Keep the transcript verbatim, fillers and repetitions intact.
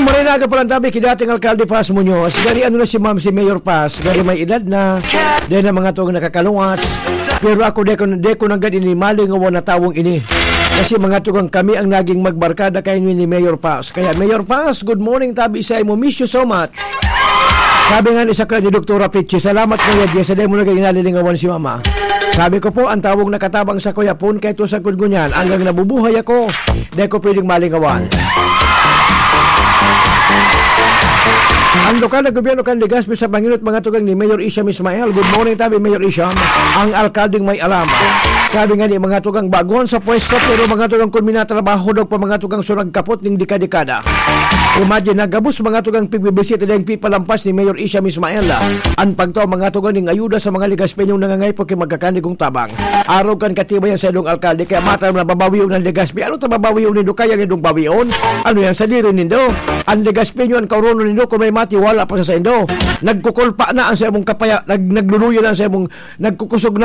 Maray na aga pa lang tabi ki dating Alkalde Paz Muñoz. Gari ano na si Ma'am, si Mayor Paz. Gari may edad na. Dahil na mga tugang nakakaluwas. Pero ako, di ko, di ko nanggad ini malingawan na tawong ini. Kasi mga tugang kami ang naging magbarkada kay ni Mayor Paz. Kaya Mayor Paz, good morning tabi sa imo. Miss you so much. Sabi nga ni sa ni Doktora Pichi, "Salamat, Kuya Jess, sa dahil mo naging nalilingawan si Mama." Sabi ko po, ang tawong nakatabang sa Kuya Pon, kahit sa ngunyan, hanggang nabubuhay ako, di ko pwedeng malingawan. Ang lokal na gobyerno kan Legazpi sa panginot mga tugang ni Mayor Isham Ismael. Good morning tabi, Mayor Isham. Ang alkaldeng may alam. Sabi nga ni mga tugang baguhan sa pwesto, pero mga tugang kun minatrabaho daw pa mga tugang surag kapot ning dekada-dekada. Imagine, nagabos mga tugang pigbibisita dahil pipalampas ni Mayor Isham Ismael. An pagtao mga tugang ning ayuda sa mga Legazpeñong nangangaipo ki magkakanigong tabang. Arog kan katibayan sa ilong alkalde, kaya mata na babawion ang Legazpi. Ano ta babawion nindo? Kaya nindong bawion? Ano yan? Sadiri nindo? Ang Legazpeño, ang kaurono nindo, kung may mati, wala pa sa saindo. Nagkukulpa na ang sa imong kapaya, nag, nagluluya na ang sa imong, nagkukusog